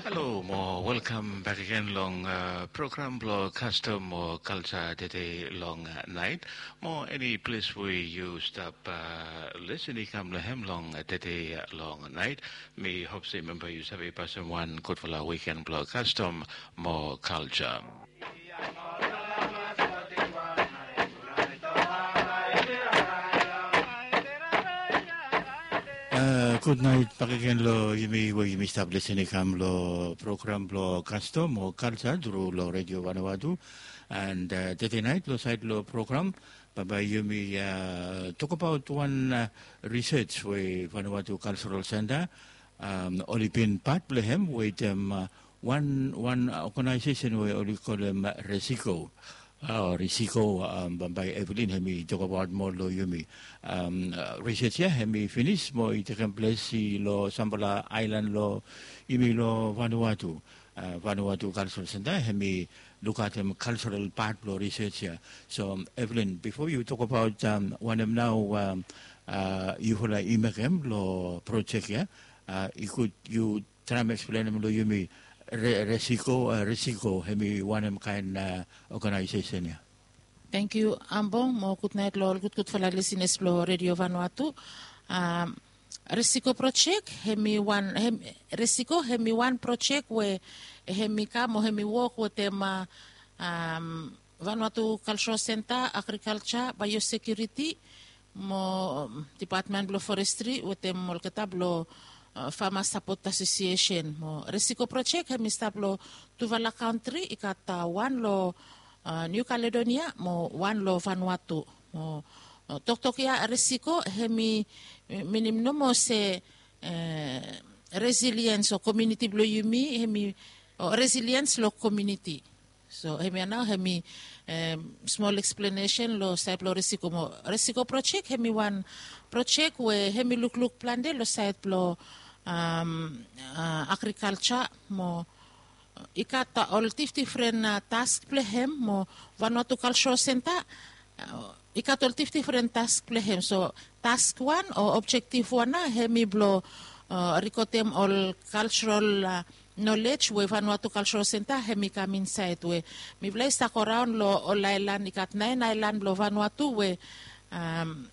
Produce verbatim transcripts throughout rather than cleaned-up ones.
Halo mo welkam bek agen long program blong kastom o kalsa tede long nait. Mo eni ples we yu stap lesen i kam long hem long tede long nait, mi hop se memba yu save pasim wan gudfala wiken blong kastom mo kalsa. Gudnait bakegen long yumi we yumi stap lesen i kam long program blong kastom o kalsa tru long redio vanua tu. And tede nait long sait long program bambae yumi tokabaot wan risej we vanua tu kalserol senta oli bin pat blong hem wetem wan wan ogenaisesen we oli kolem resiko. Risiko bambae evelin hem i tokabaot moa long yumi. Risej ya hem i finis mo i tekem ples i long sampela ailan long yumi long vanua tu. Vanua tu kalserol senta hem i lukatem kalserol pat blong risej ya. So evelin, bifo yu tokabaot wanem nao yufala i mekem long projek ya, i gud yu traem eksplenem long yumi resiko resiko hem i wanem kaen ogenaisesen ya. Tangkiu. Ambong mo gudnait long ol gudgudfala lisinas blong redio vanua tu. Resiko projek hem i wan resiko hem i wan projek we hem i kam o hem i wok wetem vanua tu kalsoro senta agrikalsa baiosekiuriti mo dipatmen blong forestri wetem olgeta blong fama sapot asosiesen mo resiko projek hem i stap long tufala kantri i gat wan long niu kaledonia mo wan long vanua tu. Mo toktok ya resiko hem i minim nomo se resiliens o komiuniti blong yumi hem i o resiliens long komiuniti. So hem ya nao hem i smol eksplenesen long sait blong resiko mo resiko projek hem i wan projek we hem i lukluk plante long sait blong agrikalsa mo i gat ol difdifren task blong hem mo vanua tu kalsoro senta i gat ol difdifren task blong hem. So task wan o objektif wan na hem i blong rikotem ol kalserol nolej we vanua tu kalsoro senta hem i kam insait we mifala i stap goraon long ol ailan i gat naen ailan blong vanua tu we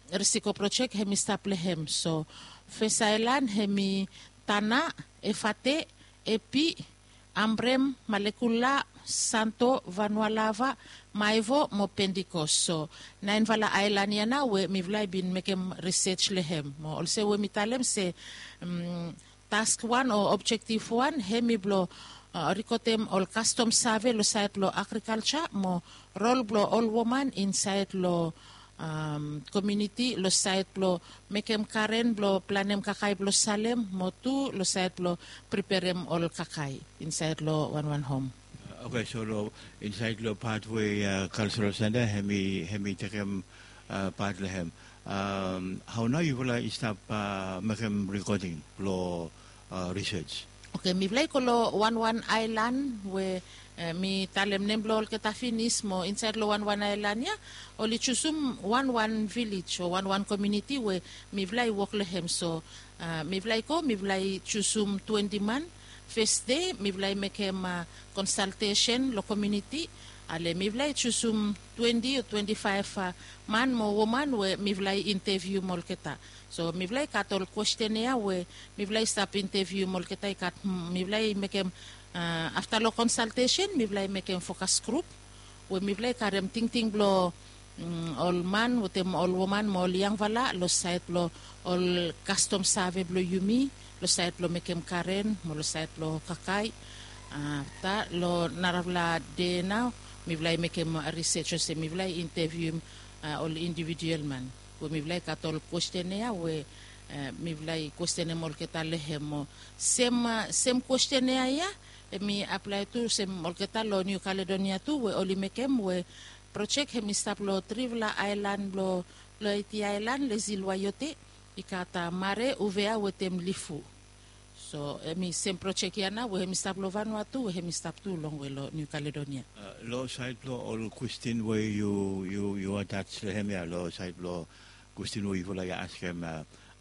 resiko projek hem i stap long hem. So fes ailan hem i tana, efate, epi, ambrem, malekula, santo, vanualava, maivo mo pendikos. So naenfala ailan ya nao we mifala i bin mekem risej long hem mo olsem we mi talem se task wan o objektif wan hem i blong rikotem ol kastom save long sait blong agrikalsa mo rol blong ol woman insait long komiuniti long sait blong mekem karen blong planem kakai blong salem mo tu long sait blong priperem ol kakai insait long wanwan hom. Oke, so long insait long pat we kalserol senta hem i tekem pat long hem, hao nao yufala i stap mekem rikoding blong risej? Oke, mifala i go long wanwan ailan we mi talem nem blong olgeta finis mo insait long wanwan ailan ya oli jusum wanwan vilej o wanwan komiuniti we mifala i wok long hem. So mifala i go mifala i jusum twenti man. Fes de mifala i mekem konsaltesen long komiuniti. Ale mifala i jusum twenti o twenti faef man mo woman we mifala i intevium olgeta. So mifala i gat ol kwesten ya we mifala i stap intevium olgeta i gat mifala i mekem afta long konsaltesen mifala i mekem fokas grup we mifala i karem tingting blong ol man wetem ol woman mo ol yangfala long sait blong ol kastom save blong yumi long sait blong mekem karen mo long sait blong kakai. Afta long narafala de nao mifala i mekem risej olsem mifala i intevium ol individual man we mifala i gat ol kwesten ya we mifala i kwestenem olgeta long hem mo sem sem kwesten ya ya hem i aplae tu sem olgeta long niu kaledonia tu we oli mekem we projek hem i stap long trifala ailan blong loeti ailan lesi luaiote i gat mare uvea wetem lifu. So hem i sem projek ya nao we hem i stap long vanua tu we hem i stap tu longwe long niu kaledonia. Long sait blong ol kwesten we yu yu yu atas long hem ya long sait blong kwesten we yufala i askem,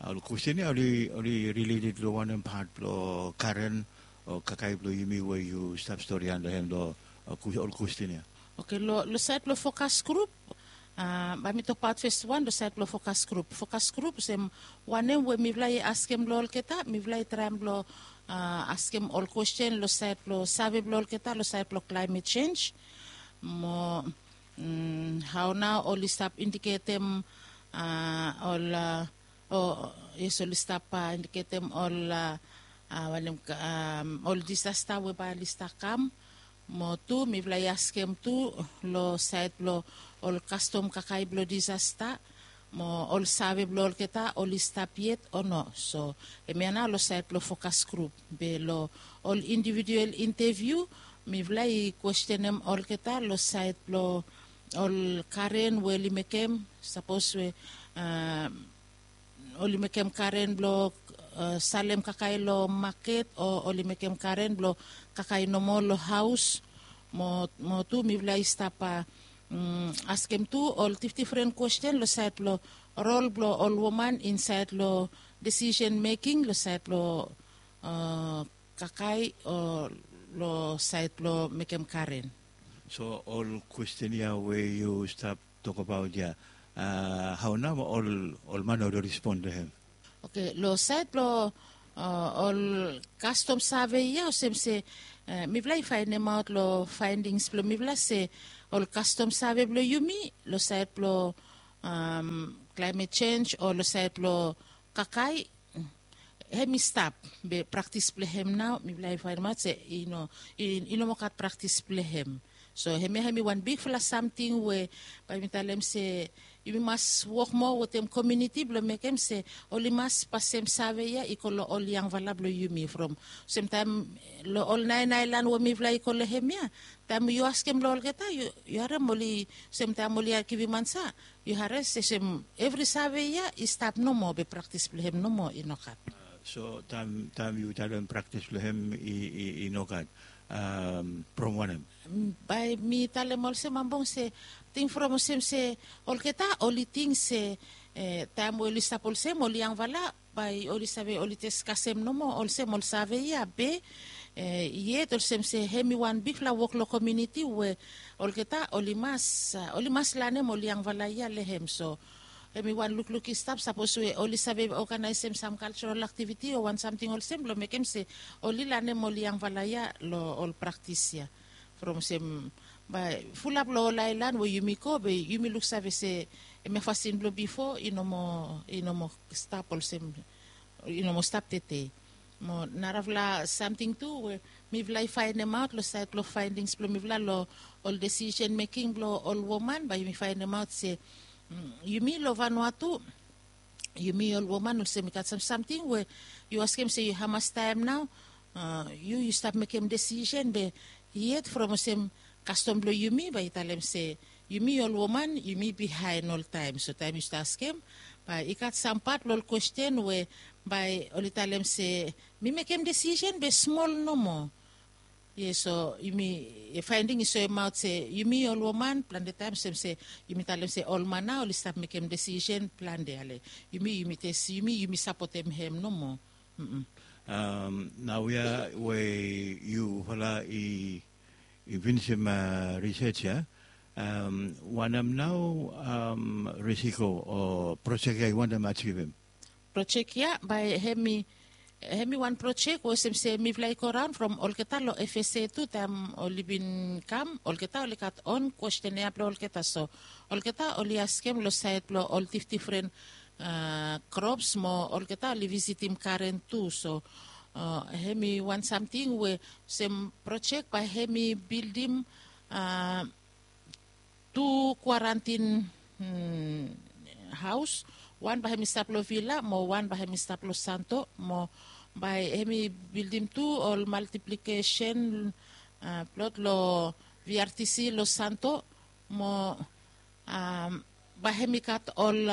ol kwesten ya oli rileted long wanem pat blong karen O kakae blong yumi we yu stap storian long hem long ol kwestin ya. Oke, long sait blong fokas grup, bae mi tokbaot fes wan long sait blong fokas grup. Fokas grup olsem wanem we mifala i askem long olgeta, mifala i traem blong askem ol kwesten long sait blong save blong olgeta long sait blong klaemet sens. Mo hao nao oli stap indiketem ol, yes, oli stap indiketem ol, wanem, ol disasta we bae oli stap kam. Mo tu mifala i askem tu long sait blong ol kastom kakae blong disasta, mo ol save blong olgeta oli stap yet o no. So hemia nao long sait blong fokas grup. Be long ol individual inteviu mifala i kwestenem olgeta long sait blong ol karen we oli mekem, sapos we oli mekem karen blong salem kakae long maket, o oli mekem karen blong kakae nomo long haos. Mo tu mifala i stap askem tu ol difdifren kwesten long sait blong rol blong ol woman insait long desisen meking long sait blong kakae o long sait blong mekem karen. So ol kwesten ya we yu stap tokbaot ya, hao nao ol man oli respon long hem? Oke, long sait blong ol kastom save ya olsem se mifala i faenemaot long faendings blong mifala se ol kastom save blong yumi long sait blong klaemet sens o long sait blong kakae, hem i stap. Be praktis blong hem nao mifala i faenemaot se i no, i no moa gat praktis blong hem. So hemia hem i wan bigfala samting we bae mi talem se yumi mas wok moa wetem komuniti blong mekem se oli mas pasem save ya i go long ol yangfala blong yumi from olsem taem long ol naen aelan we mifala i go long hemia, taem yu askem long olgeta yu harem oli olsem taem oli givim ansa, yu harem se olsem evri save ya i stap nomo be praktis blong hem nomo i no gat. So taem yu talem praktis blong hem i no gat, from wanem? Bae mi talem olsem ambong se ting from olsem se olgeta oli ting se taem we oli stap olsem ol yangfala bae oli save oli jes kasem nomo olsem ol save ya be yet olsem se hem i wan bigfala wok long komuniti we olgeta oli mas, oli mas lanem ol yangfala ya long hem. So hem i wan lukluk i stap sapos we oli save oganaesem sam kalseral aktiviti o wan samting olsem blong mekem se oli lanem ol yangfala ya long ol praktis ya. From olsem bae fulap long ol aelan we yumi go be yumi luksave se hemia fasin blong bifo i no moa, i no moa stap olsem, i no moa stap tete. Mo narafala samting tu we mifala i faenemaot long sait blong faendings blong mifala long ol desisen meking blong ol woman bae yumi faenemaot se yumi long Vanuatu yumi ol woman olsem i gat sam samting we yu askem se yu hamas taem nao yu yu stap mekem desisen be yet from olsem kastom blong yumi bae i talem se yumi ol woman yumi bihaen oltaem. So taem yu stap askem bae i gat sam pat blong ol kwesten we bae oli talem se mi mekem desisen be smol nomo. Yes, so yumi faending i soemaot se yumi ol woman plante taem olsem se yumi talem se ol man nao oli stap mekem desisen plante ale yumi yumi tes yumi yumi sapotem hem nomo. Naoia we yufala i finisim risej ya, wanem nao risiko o projek ya i wantem ajivim? Projek ya bae hem i hem i wan projek we olsem se mifala i go raon from olgeta long F S A tu taem oli bin kam olgeta oli gat on kwesten ya blong olgeta. So olgeta oli askem long saed blong ol difdifren krops mo olgeta oli visitim garen tu. So hem i wan samting we olsem projek bae hem i bildim tu kwarantin haos. Wan bae hem i stap long Vila mo wan bae hem i stap long Santo mo bae hem i bildim tu ol maltiplikesen plot long V R T C long Santo mo bae hem i gat ol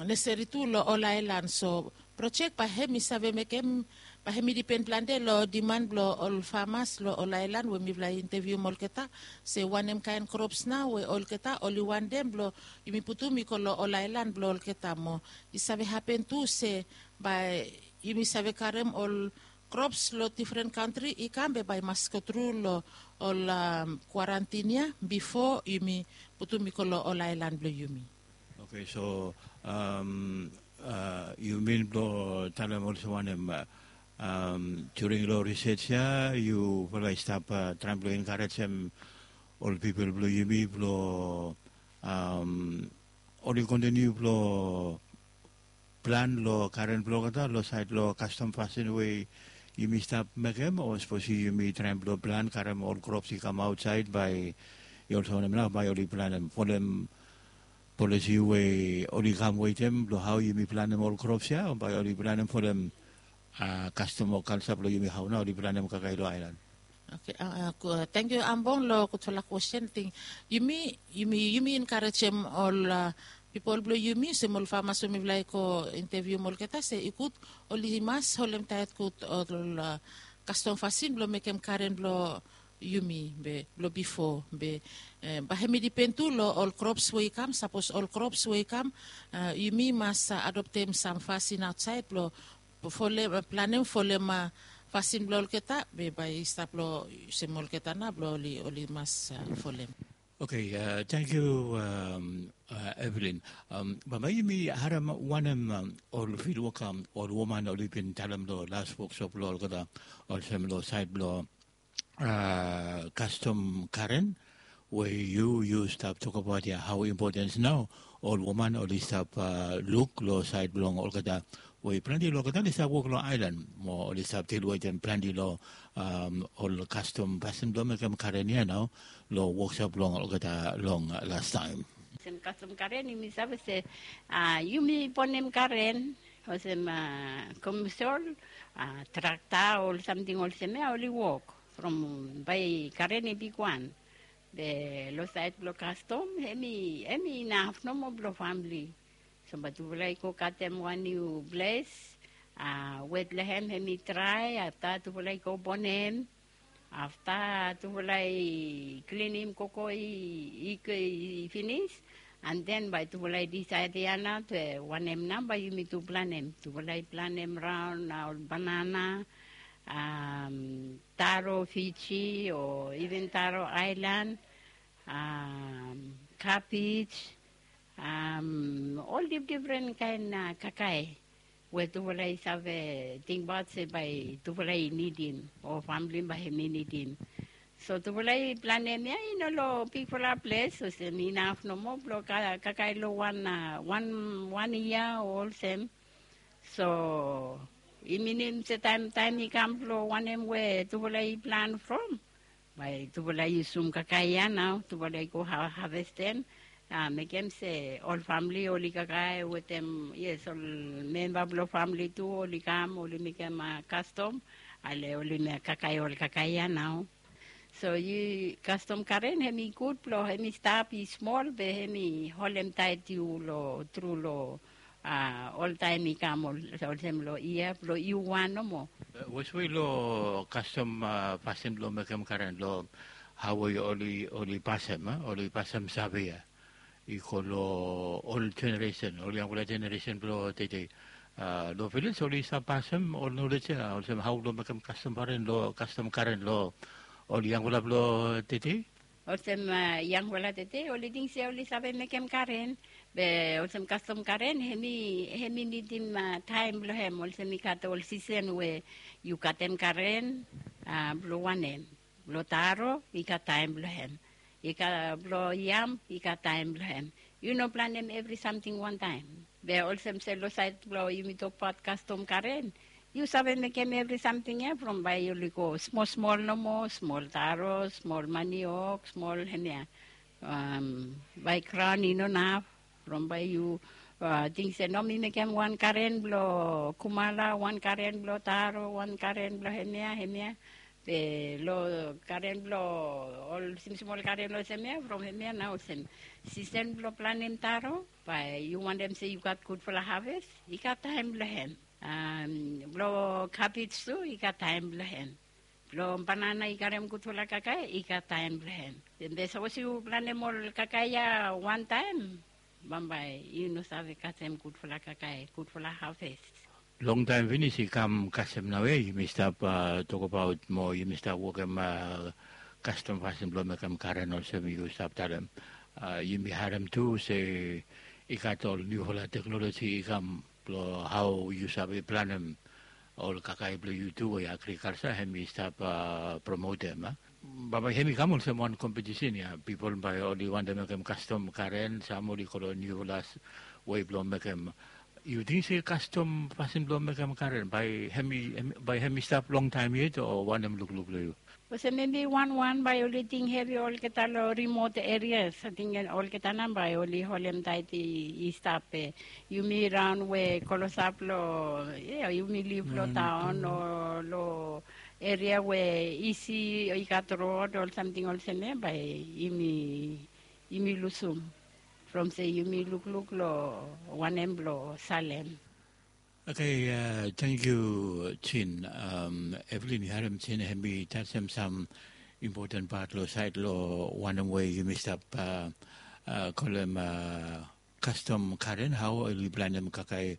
nesesari tu long ol aelan. So projek bae hem i save mekem bae hem i dipen plante long diman blong ol famas long ol aelan we mifala i intevium olgeta se wanem kaen krops nao we olgeta oli wantem blong yumi putum i go long ol aelan blong olgeta mo i save hapen tu se bae yumi save karem ol Krops long difren kantri i kam be bae i mas go tru long ol kwarantin ya bifo yumi putum i go long ol aelan blong yumi. Oke, so yu min blong talem olsem wanem? During long risej ya yufala i stap traem blong enkarejem ol pipol blong yumi blong oli kontiniu blong plan long karen blong olgeta long saed long kastom fasin we yumi stap mekem, o sapos yumi traem blong plan karem ol krops i kam aotsaed bae i olsem wanem nao bae oli planem folem polisi we oli kam wetem blong hao yumi planem ol krops ya o bae oli planem folem kastom o kalsa blong yumi hao nao oli planem kakae long aelan? Oke, tangkiu Ambong long gudfala kwesten. Ting yumi yumi enkarejem ol pipol blong yumi olsem ol famas we mifala i go intevium olgeta se i gud oli mas holem taet gud ol kastom fasin blong mekem karen blong yumi be blong bifo be bae hem i dipen tu long ol krops we i kam. Sapos ol krops we i kam yumi mas adoptem sam fasin aotsaed blong folem planem folem fasin blong olgeta be bae i stap long olsem olgeta nao blong oli mas folem. Oke, tangkiu Evelin. Bambae yumi harem wanem ol fil woka ol woman oli bin talem long las woksop blong olgeta olsem long saed blong kastom karen we yu yu stap tokbaot ya hao impotens nao ol woman oli stap luk long saed blong olgeta we plante long olgeta oli stap wok long aelan mo oli stap til wetem plante long ol kastom pasin blong mekem karen ya nao long woksop blong olgeta long lastaem. Olsem kastom karen yumi save se yumi bonem karen olsem komesol trakta ol samting olsem ya oli wok from bae karen i bigwan. Be long saed blong kastom hem i inaf nomo blong famli. So bae tufala i go katem wan niu ples wet long hem hem i drae afta tufala i go bonem. Afta tufala i klinim koko i finis. An den bae tufala i disaed ya nao se wanem nao bae yumi tu planem. Tufala i planem raon ol banana, taro fiji o iven taro aelan, kabej, ol difdifren kaen kakae we tufala i save tingbaot se bae tufala i nidim o famli bae hem i nidim. So tufala i planem ya i no long bigfala ples olsem inaf nomo blong kakae long wan wan yia o olsem. So i minim se taem taem i kam blong wanem we tufala i plan from bae tufala i yusum kakae ya nao tufala i go havestem. Mekem se ol famli oli kakae wetem yes ol memba blong famli tu oli kam oli mekem kastom ale oli kakae ol kakae ya nao. So yu kastom karen hem i gud blong hem i stap i smol be hem i holem taet yu long tru long oltaem i kam olsem long yia blong yu wan nomo. Weswe long kastom pasin blong mekem karen long hao we oli pasem oli pasem save ya i go long ol jeneresen ol yangfala jeneresen blong tede long vilej oli stap pasem ol nolej ya olsem hao blong mekem kastom karen long kastom karen long ol yangfala blong tede. Olsem yangfala tede oli ting se oli save mekem karen be olsem kastom karen hem i nidim taem blong hem olsem i gat ol sisen we yu katem karen blong wanem blong taro i gat taem blong hem. I gat blong yam i gat taem blong hem. Yu no planem evri samting wantaem be olsem se long saed blong yumi tokbaot kastom karen yu save mekem evri samting ya from bae oli go smol smol nomo smol taro smol maniok smol hemia. Bae graon i no naf from bae yu ting se no mi mekem wan karen blong kumala wan karen blong taro wan karen blong hemia hemia. Be long karen blong ol simsimol karen olsem ya from hemia nao olsem sisen blong planem taro bae yu wantem se yu gat gudfala haves i gat taem blong hem. Blong kabej tu i gat taem blong hem. Blong banana i karem gudfala kakae i gat taem blong hem. Be sapos yu planem ol kakae ya wantaem bambae yu no save kasem gudfala kakae gudfala haves. Longtaem finis i kam kasem naoia yumi stap tokabaot mo yumi stap wokem kastom fasin blong mekem karen olsem yu stap talem. Yumi harem tu se i gat ol niufala teknoloji i kam blong hao yu save planem ol kakae blong yu tu we agrikalsa hem i stap promotem a. Bae hem i kam olsem wan kompetisin ya, pipol bae oli wantem mekem kastom karen, sam oli go long niufala wei blong mekem. Yu ting se kastom fasin blong mekem karen bae hem i stap longtaem yet o wanem lukluk long yu? Olsem em i wanwan bae oli ting hevi olgeta long rimot erias, ating olgeta nao bae oli holem taet i stap. Yumi raon we klosap long yumi liv long taon o long eria we isi i gat rod o samting olsem ya bae yumi lusum from se yumi lukluk long wanem blong salem. Oke, tangkiu Jin. Evelin, yu harem Jin hem i tajem sam impoten pat long saed long wanem we yumi stap kolem kastom karen, hao oli planem kakae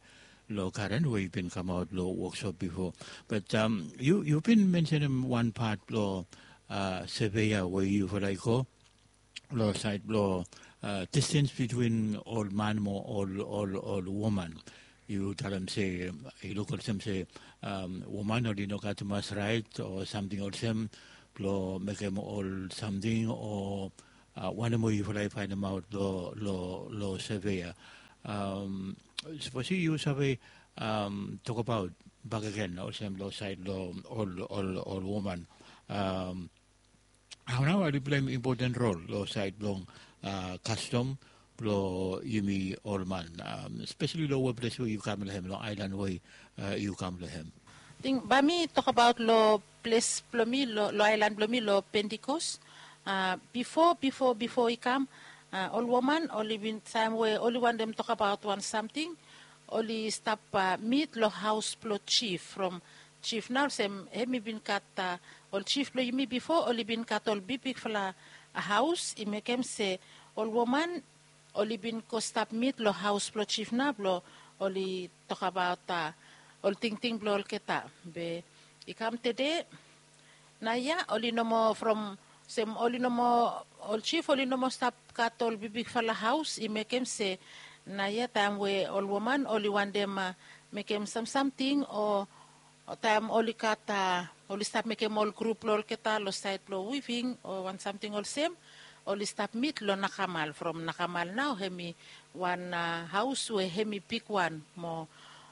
long karen we i bin kamaot long woksop bifo. Bat yu bin mensenem wan pat blong sevea we yufala i go long saed blong distens bitwin ol man mo ol woman. Yu talem se i luk olsem se woman oli no gat tumas raet o samting olsem blong mekem ol samting o wanem we yufala i faenemaot long sevea. Sapos yu save tokabaot bakegen olsem long saed long ol woman. Hao nao oli pleim impoten rol long saed blong kastom blong yumi ol man, spesali long weples we yu kam long hem, long aelan we yu kam long hem? Ating bae mi tokabaot long ples blong mi, long aelan blong mi long Pentikos. Bifo bifo bifo i kam, ol woman oli bin, taem we oli wantem tokabaot wan samting, oli stap mit long haos blong jif, from jif nao olsem hem i bin gat ol jif blong yumi bifo oli bin gat ol bigbigfala haos, i mekem se ol woman oli bin go stap mit long haos blong jif nao blong oli tokabaot ol tingting blong olgeta. Be i kam tede naoia oli no moa from olsem oli no moa, ol jif oli no moa stap gat ol bigbigfala haos, i mekem se naoia taem we ol woman oli wantem mekem samsamting o taem oli gat, oli stap mekem ol grup blong olgeta long saed blong wiving o wan samting olsem, oli stap mit long nakamal. From nakamal nao hem i wan haos we hem i bigwan mo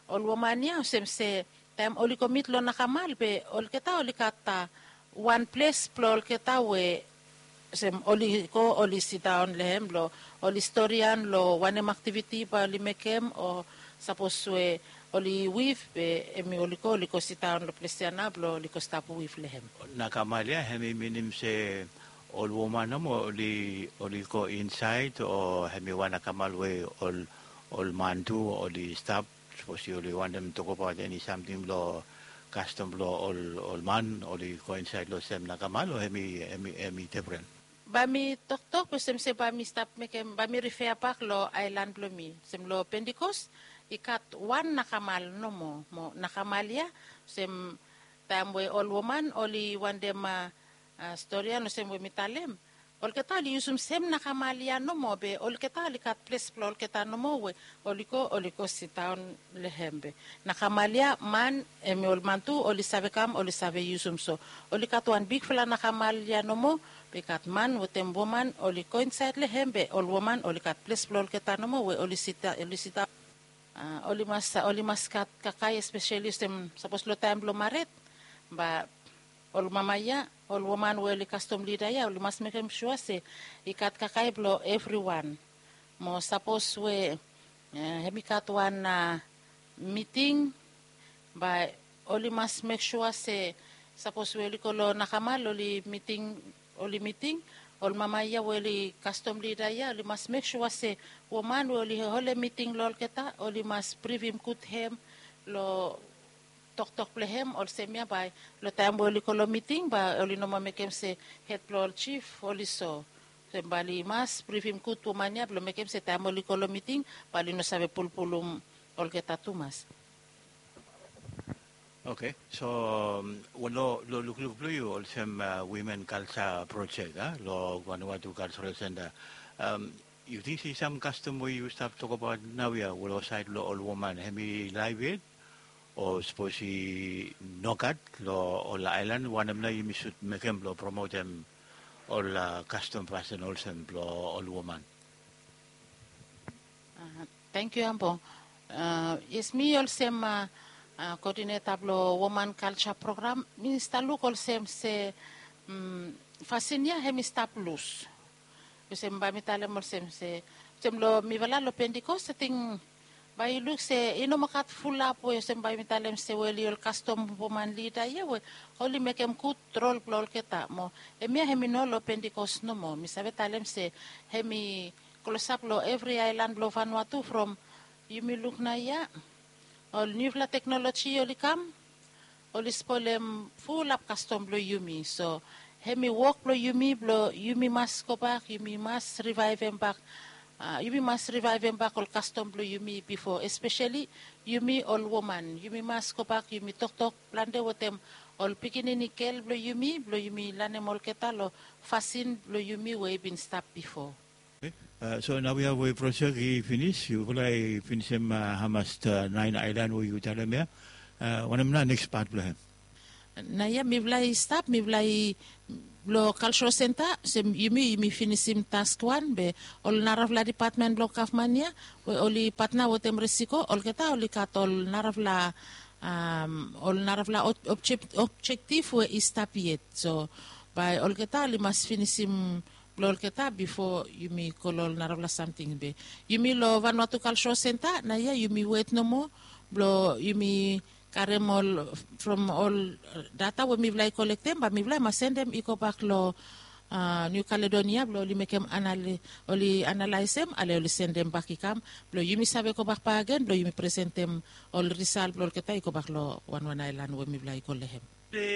ol woman ya olsem se taem oli go mit long nakamal be olgeta oli gat wan ples blong olgeta we olsem oli go oli sidaon long hem blong oli storian long wanem aktiviti bae oli mekem o sapos we oli wiv be hem i oli go oli go sidaon long ples ya nao blong oli go stap wiv long hem. Nakamal ya hem i minim se ol woman nomo oli go insaed o hem i wan nakamal we ol man tu oli stap? Sapos yu oli wantem tokbaot eni samting blong kastom blong ol man oli go insaed long sem nakamal o hem i difren? Bae mi toktok olsem se bae mi stap mekem, bae mi rifea bak long aelan blong mi olsem long Pentikos i gat wan nakamal nomo. Mo nakamal ya olsem taem we ol woman oli wantem storian olsem we mi talem, olgeta oli yusum sem nakamal ya nomo be olgeta oli gat ples blong olgeta nomo we oli go oli go sidaon long hem. Be nakamal ya man hem i ol man tu oli save kam oli save yusum. So oli gat wan bigfala nakamal ya nomo be i gat man wetem woman oli go insaed long hem be ol woman oli gat ples blong olgeta nomo we oli sidaon. Oli mas gat kakae espeseli olsem sapos long taem blong mared bae ol mama ya, ol woman we oli kastom lida ya oli mas mekem sua se i gat kakae blong evriwan. Mo sapos we hem i gat wan miting bae oli mas mek sua se sapos we oli go long nakamal oli miting, oli miting, ol mama ya we oli kastom lida ya oli mas mek sua se woman we oli holem miting long olgeta oli mas brivim gud hem long toktok blong hem olsem ya bae long taem we oli go long miting bae oli no moa mekem se hed blong ol jif oli so. Olsem bae oli mas brivim gud woman ya blong mekem se taem oli go long miting bae oli no save pulpulum olgeta tumas. Oke, so long lukluk blong yu olsem wimen kalsa projek long Vanuatu Kalsarol Senta, yu ting se i sam kastom we yu stap tokabaot naoia long saed blong ol woman hem i laef yet, o sapos i nogat long ol aelan wanem nao yumi sud mekem blong promotem ol kastom fasin olsem blong ol woman? Tangkiu ambo. Yes, mi olsem koodineta blong woman kalsa program mi stap luk olsem se fasin ya hem i stap lus. Olsem bae mi talem olsem se olsem long mifala long Pentikos ating bae yu luk se i no moa gat fulap we olsem bae mi talem se we oli ol kastom woman lida ya we oli mekem gud rol blong olgeta mo hemia hem i no long Pentikos nomo. Mi save talem se hem i klosap long evri aelan blong Vanuatu from yumi luk naoia ol niufala teknoloji oli kam oli spolem fulap kastom blong yumi. So hem i wok blong yumi blong yumi mas gobak, yumi mas rivaevem bak yumi mas rivaevem bak ol kastom blong yumi bifo, espeseli yumi ol woman. Yumi mas gobak yumi toktok plante wetem ol pikinini gel blong yumi blong yumi lanem olgeta long fasin blong yumi we i bin stap bifo. So naoia we projek i finis, yufala i finisim hamas naen aelan we yu talem ya, wanem nao neks pat blong hem? Naoia mifala i stap mifala i long Kalsarol Senta olsem yumi yumi finisim task wan be ol narafala dipatmen blong gavman ya we oli patna wetem Resiko olgeta oli gat ol narafala ol narafala objektif we i stap yet. So bae olgeta oli mas finisim blong olgeta bifo yumi go long ol narafala samting be yumi long Vanuatu Kalsarol Senta naoia yumi wet nomo blong yumi karem ol from ol data we mifala i kolektem bae mifala i mas sendem i gobak long Niu Kaledonia blong oli mekem anali oli analaesem ale oli sendem bak i kam blong yumi save gobak bakegen blong yumi presentem ol risal blong olgeta i gobak long wanwan aelan we mifala i go long hem.